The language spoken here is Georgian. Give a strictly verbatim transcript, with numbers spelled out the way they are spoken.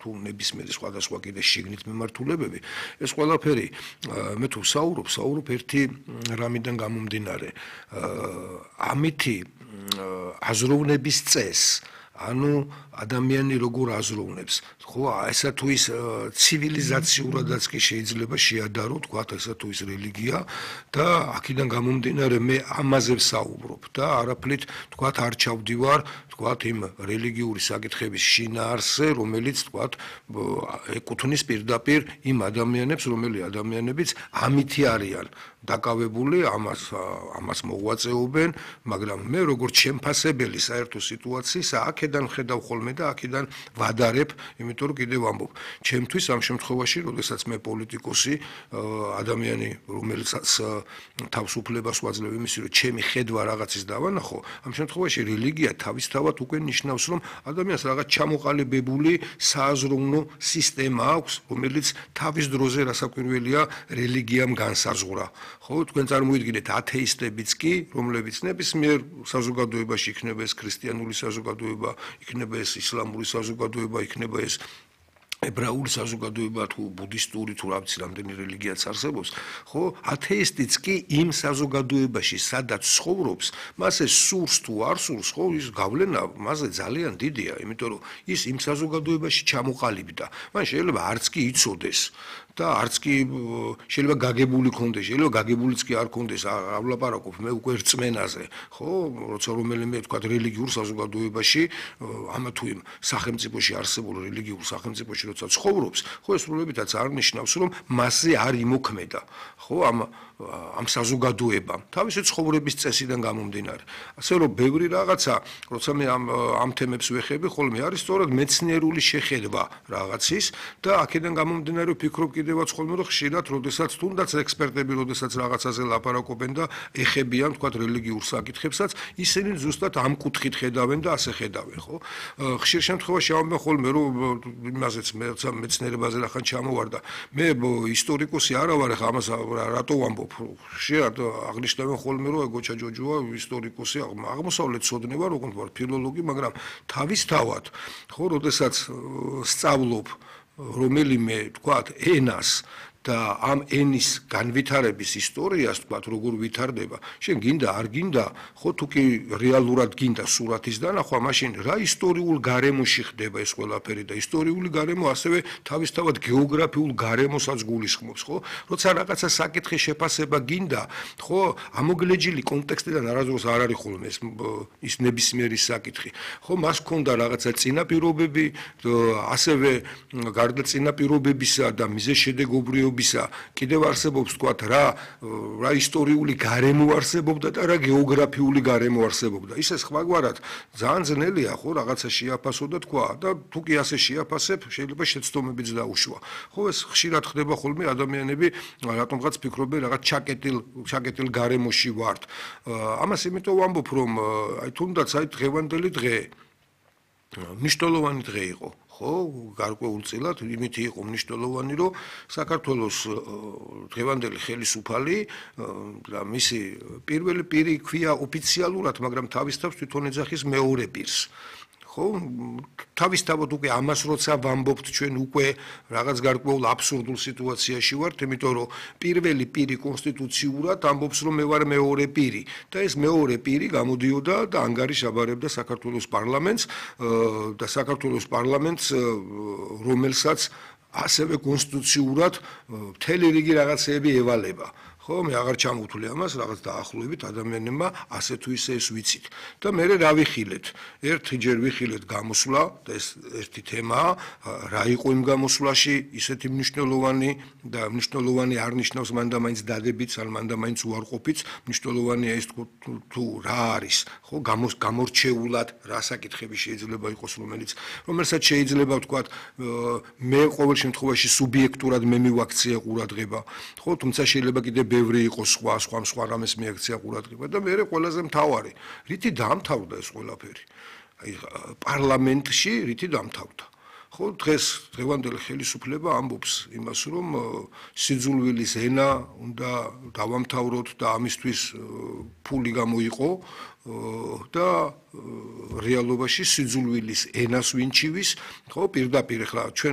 თუ ნებისმიერი სხვადასხვა კიდე შიგნით მიმართულებები, ეს ყველაფერი მე თუ ვსაუბრობ, ვსაუბრობ ერთი რამიდან გამომდინარე. ამითი აზროვნების წესს, ანუ ადამიანი როგორ აზროვნებს, ხო, ესა თუ ის ცივილიზაციურადაც კი შეიძლება შეადარო, თქვათ, ესა თუ ის რელიგია და აქედან გამომდინარე მე ამაზე ვსაუბრობ და არაფრით, თქვათ, არ ჩავდივარ, თქვათ, იმ რელიგიური საკითხების შინაარსზე, რომელიც, თქვათ, ეკუთვნის პირდაპირ იმ ადამიანებს, რომელი ადამიანებიც ამითი არიან დაკავებული, ამას ამას მოღვაწეობენ, მაგრამ მე როგორც შემფასებელი საერთო სიტუაციის აქედან ხედავ ხოლმე და აქედან ვადარებ, იმიტომ რომ კიდევ ვამბობ, ჩემთვის ამ შემთხვევაში, როდესაც მე პოლიტიკოსი, ადამიანი, რომელიც თავისუფლებას ვაძლევ იმისი, რომ ჩემი ხედვა რაღაცის დავანახო, ამ შემთხვევაში რელიგია თავისთავად უკვე ნიშნავს, რომ ადამიანს რაღაც ჩამოყალიბებული სააზროვნო სისტემა აქვს, რომელიც თავის დროზე რასაკვირველია რელიგიამ განსაზღვრა. ხო, თქვენ წარმოიდგინეთ ათეისტებიც კი, რომლებიც ნებისმიერ საზოგადოებაში იქნება ეს ქრისტიანული საზოგადოება, იქნება ეს ისლამური საზოგადოება, იქნება ეს ებრაული საზოგადოება თუ ბუდისტური თუ რა ვიცი რამდენი რელიგიაც არსებობს, ხო, ათეისტიც კი იმ საზოგადოებაში, სადაც ცხოვრობს, მას ეს სურს თუ არ სურს, ხო, ის გავლენა მასზე ძალიან დიდია, იმიტომ რომ ის იმ საზოგადოებაში ჩამოყალიბდა. მან შეიძლება არც კი იცოდეს და არც კი შეიძლება გაგებული კონდეს, შეიძლება გაგებულიც კი არ კონდეს, არ ვლაპარაკობ მე უკვე რწმენაზე, ხო, როცა რომელიმე თქვა რელიგიურ საზოგადოებაში, ამა თუ იმ სახელმწიფოში არსებულ რელიგიურ სახელმწიფოში როცა ცხოვრობს, ხო, ეს სრულებითაც არ ნიშნავს, რომ მასზე არ იმოქმედა, ხო, ამ ამ საზოგადოებამ, თავისი ცხოვრების წესიდან გამომდინარე. ასე რომ ბევრი რაღაცა, როცა მე ამ ამ თემებს ვეხები, ხოლმე არის სწორედ მეცნიერული შეხედვა რაღაცის და აქედან გამომდინარე ვფიქრობ კიდევაც ხოლმე რომ ხშირად, როდესაც თუნდაც ექსპერტები, როდესაც რაღაცაზე ლაპარაკობენ და ეხებიან, თქვათ, რელიგიურ საკითხებსაც, ისინი ზუსტად ამ კუთხით ხედავენ და ასე ხედავენ, ხო? ხშირ შემთხვევაში ამბობენ ხოლმე რომ იმაზეც მე მეცნიერებაზე რახან ჩამოვარდა. მე ისტორიკოსი არა ვარ, ხა ამას რატო ვამბობ? ხშირად აღნიშნავენ ხოლმე რომ გოჩა ჯოჯოა ისტორიკოსი, აღმოსავლეთცოდნე ვარ, როგორც ვარ ფილოლოგი, მაგრამ თავისთავად, ხო, როდესაც სწავლობ რომელიმე, თქვათ, ენას და ამ ენის განვითარების ისტორიას, თქვათ, როგორ ვითარდება, შენ გინდა არ გინდა, ხო, თუ კი რეალურად გინდა სურათის დანახვა, მაშინ რა ისტორიულ გარემოში ხდება ეს ყველაფერი და ისტორიული გარემო ასევე თავისთავად გეოგრაფიულ გარემოსაც გულისხმობს, ხო? როცა რაღაცა საკითხის შეფასება გინდა, ხო, ამოგლეჯილი კონტექსტიდან არასდროს არ არის ხოლმე ეს ის ნებისმიერი საკითხი. ხო, მას ჰქონდა რაღაცა წინაპირობები, ასევე გარდა წინაპირობებისა და მიზეშედეგობრიობის კიდევ არსებობს, თქვათ, რა რა ისტორიული გარემო არსებობდა და რა გეოგრაფიული გარემო არსებობდა. ისე სხვაგვარად ძალიან ძნელია, ხო, რაღაცა შეაფასო და თქვა და თუ კი ასე შეაფასებ, შეიძლება შეცდომებიც დაუშვა. ხო, ეს ხშირად ხდება ხოლმე ადამიანები რატომღაც ფიქრობენ რაღაც ჩაკეტილ ჩაკეტილ გარემოში ვართ. ამას იმიტომ ვამბობ, რომ აი თუნდაც აი დღევანდელი დღე მნიშვნელოვანი დღე იყო. ხო, გარკვეულწილად იმითი იყო მნიშვნელოვანი, რომ საქართველოს დღევანდელი ხელისუფალი და მისი პირველი პირი ქვია ოფიციალურად, მაგრამ თავისთავად თვითონ ეძახის მეორე პირს. ხო, თავისთავად უკვე ამას როცა ვამბობთ, ჩვენ უკვე რაღაც გარკვეულ აბსურდულ სიტუაციაში ვართ, იმიტომ რომ პირველი პირი კონსტიტუციურად ამბობს, რომ მე ვარ მეორე პირი და ეს მეორე პირი გამოდიოდა და ანგარიშაბარებდა საქართველოს პარლამენტს და საქართველოს პარლამენტს, რომელსაც ასევე კონსტიტუციურად მთელი რიგი რაღაცეები ევალება. ხო, მე აღარ ჩამოვთვლი ამას, რაღაც დაახლოებით ადამიანებმა ასე თუ ისე ეს ვიცით. და მე რა ვიხილეთ? ერთჯერ ვიხილეთ გამოსვლა და ეს ერთი თემაა, რა იყო იმ გამოსვლაში ისეთი მნიშვნელოვანი და მნიშვნელოვანი არ ნიშნავს მანდა მაინც დადებიც, ან მანდა მაინც უარყოფიც, მნიშვნელოვანია ის თუ რა არის, ხო, გამორჩეულად რა საკითხები შეიძლება იყოს, რომელიც რომელსაც შეიძლება ვთქვათ, მე ყოველ შემთხვევაში სუბიექტურად მე მივაქცია ყურადღება, ხო, თუმცა შეიძლება კიდე ბევრი იყოს სხვა სხვა სხვა რამეს მიაქცია ყურადღება და მე ყველაზე მთავარი, რითი დაამთავრდა ეს ყველაფერი. აი პარლამენტში რითი დაამთავრდა. ხო, დღეს დღევანდელი ხელისუფლება ამბობს იმას, რომ სიძულვილის ენა უნდა დავამთავროთ და ამისთვის ფული გამოიყო და რეალობაში სიძულვილის ენას ვინჩივის, ხო, პირდაპირ ახლა ჩვენ